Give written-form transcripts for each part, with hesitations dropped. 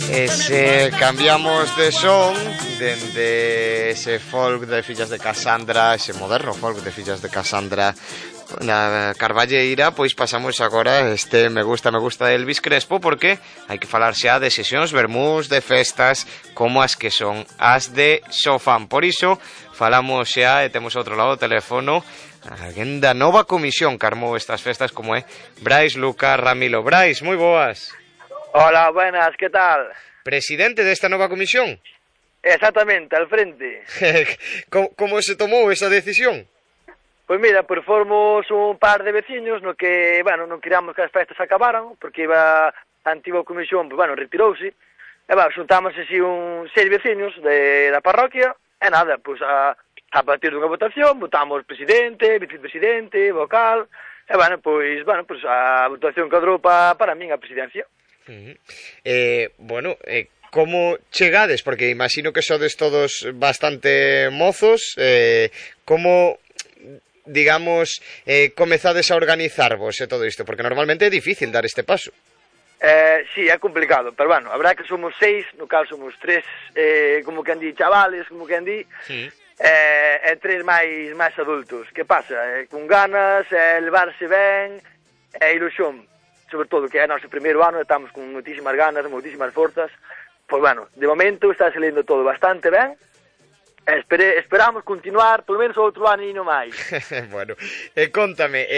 E se cambiamos de son dende ese folk de Fillas de Casandra, ese moderno folk de Fillas de Casandra na Carballeira, pois pasamos agora este me gusta de Elvis Crespo, porque hai que falar xa de sesións vermús, de festas como as que son as de Sofán. Por iso falamos xa e temos outro lado do teléfono alguén da nova comisión que armou estas festas, como é Brais Lucas Ramilo. Brais, moi boas. Hola, buenas, ¿qué tal? Presidente desta nova comisión. Exactamente, al frente. Como se tomou esa decisión? Pois mira, pues formos un par de veciños no que, bueno, non queríamos que as festas acabaran, porque iba a antiga comisión, pues bueno, retirouse, e xuntamos así un 6 veciños da parroquia, e nada, pues a partir dunha votación, votamos presidente, vicepresidente, vocal, e pues a votación cadrou para min a presidencia. Como chegades? Porque imagino que sodes todos bastante mozos, como, digamos, comezades a organizarvos e todo isto? Porque normalmente é difícil dar este paso. Sí, é complicado, pero bueno, a verdad que somos 6, no cal somos 3, como que andí chavales, como que andí, e 3 máis adultos. Que pasa? Con ganas, levarse ben, e ilusión. Sobre todo que é o noso primeiro ano, estamos con moitísimas ganas, moitísimas forzas. Pois bueno, de momento está saliendo todo bastante ben. Esperamos continuar polo menos outro ano e non máis. Bueno, contame,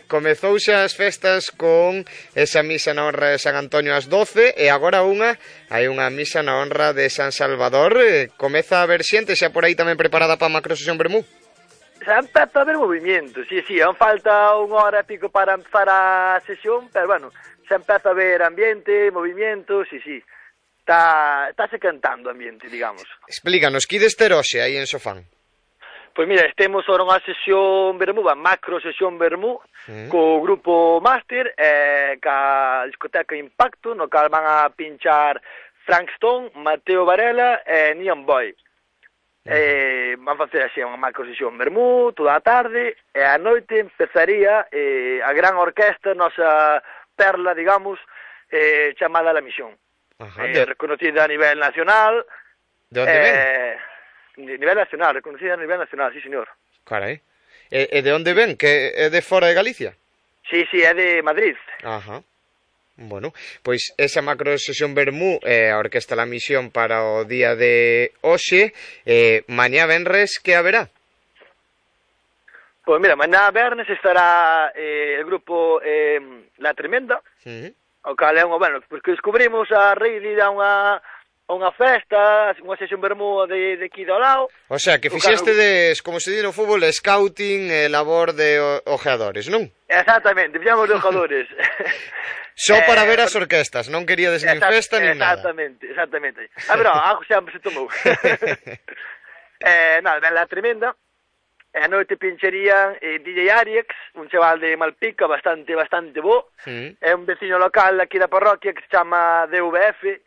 comezou xa as festas con esa misa na honra de San Antonio ás 12 e agora hai unha misa na honra de San Salvador. Comeza a haber xente xa por aí tamén preparada para a macrosesión vermú? Xa empeza a haber movimiento, sí, aún falta unha hora e pico para empezar a sesión, pero bueno, xa empeza a haber ambiente, movimiento, sí. Estáse cantando ambiente, digamos. Explícanos, que deste hoxe aí en Sofán? Pois mira, temos ahora unha sesión vermú, a macro sesión vermú, co grupo Máster, ca discoteca Impacto, no cal van a pinchar Frank Stone, Mateo Varela e Neon Boy. Van facer así unha macro sesión vermú toda a tarde, e a noite empezaría a gran orquesta, nosa perla, digamos, chamada La Misión. Reconocida a nivel nacional. De onde ven? Nivel nacional, reconocida a nivel nacional, sí, señor. Carai. E de onde ven? Que é de fora de Galicia? Sí, é de Madrid. Ajá. Bueno, pois esa macro sesión vermú a Orquesta La Misión para o día de hoxe. Mañá venres, que haberá? Pois mira, mañá vernes estará el grupo La Tremenda, o cal é bueno, porque descubrimos a raíz de ir a unha festa, unha sesión vermú de aquí do lado. O sea, que fixestedes, como se di no fútbol, scouting e labor de ojeadores, non? Exactamente, fixamos de ojeadores. Só para ver as orquestas, non queríades nin festa nin nada. Exactamente. A ver, algo sempre se tomou. Nada, ben La Tremenda. E a noite pincharían DJ Ariex, un chaval de Malpica bastante bo. É un veciño local aquí da parroquia que se chama DVF,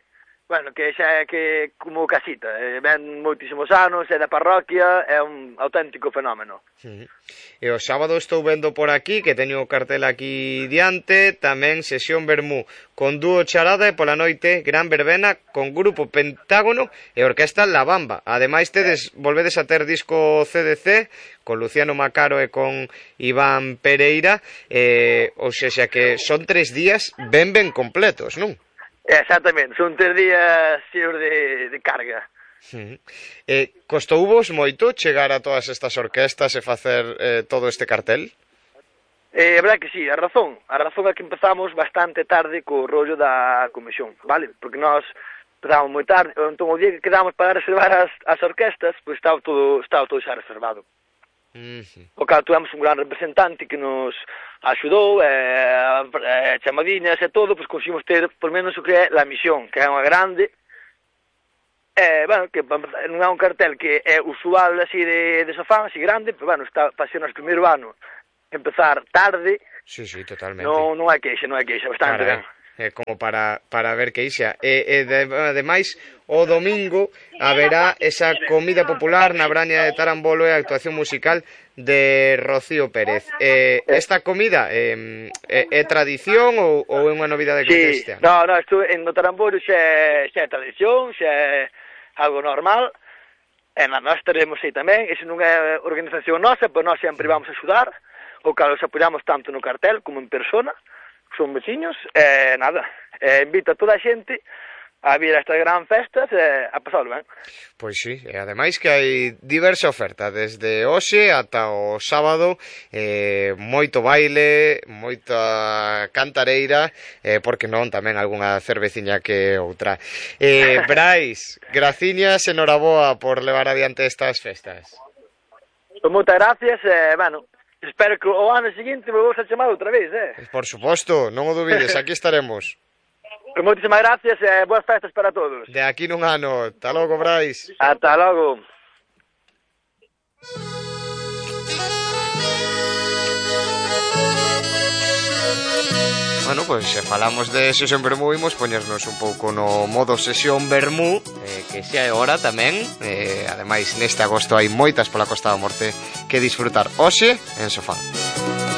bueno, que xa é que como casita, ven moitísimos anos, é da parroquia, é un auténtico fenómeno. E o sábado estou vendo por aquí, que teño o cartel aquí diante, tamén sesión vermú, con dúo charada e pola noite gran verbena con grupo Pentágono e orquesta La Bamba. Ademais volvedes a ter disco CDC con Luciano Macaro e con Iván Pereira, ou seja que son 3 días ben completos, non? Exactamente, son 3 días xeos de carga. Costou vos moito chegar a todas estas orquestas e facer todo este cartel? É verdade que sí, a razón é que empezamos bastante tarde co rollo da comisión, vale? Porque nós empezamos moi tarde, entón o día que quedamos para reservar as orquestas, pois estaba todo xa reservado. O cal tuvemos un gran representante que nos axudou, chamadiñas e todo, pois conseguimos ter por menos o que é La Misión, que é unha grande, bueno, que non é un cartel que é usual así de Sofán, así grande, pero bueno, está para ser o noso primeiro ano, empezar tarde. Sí, totalmente. Non hai queixa, bastante ben. como para ver que ixa. Ademais, o domingo haberá esa comida popular na Braña de Tarambolo e a actuación musical de Rocío Pérez. Esta comida é tradición ou é unha novidade que este ano? No, isto no Tarambolo xa é tradición, xa é algo normal, e nós teremos aí tamén. Iso non é organización nosa, pero nós sempre vamos a axudar, o cal os apoiamos tanto no cartel como en persona, son veciños, e nada, invito a toda a xente a vir a estas gran festas e a pasalo ben. Pois sí, e ademais que hai diversa oferta, desde hoxe ata o sábado, moito baile, moita cantareira, porque non, tamén algunha cerveciña que outra. Brais, graciñas e noraboa por levar adiante estas festas. Pois moitas gracias, bueno, espero que o ano seguinte me vos a chamar outra vez, Por suposto, non o dubides, aquí estaremos. Moitísimas gracias e boas festas para todos. De aquí nun ano. Ata logo, Brais. Ata logo. Bueno, pois se falamos de sesión vermú, imos poñernos un pouco no modo sesión vermú, que xa é hora tamén. Ademais, neste agosto hai moitas pola Costa da Morte que disfrutar hoxe en Sofán.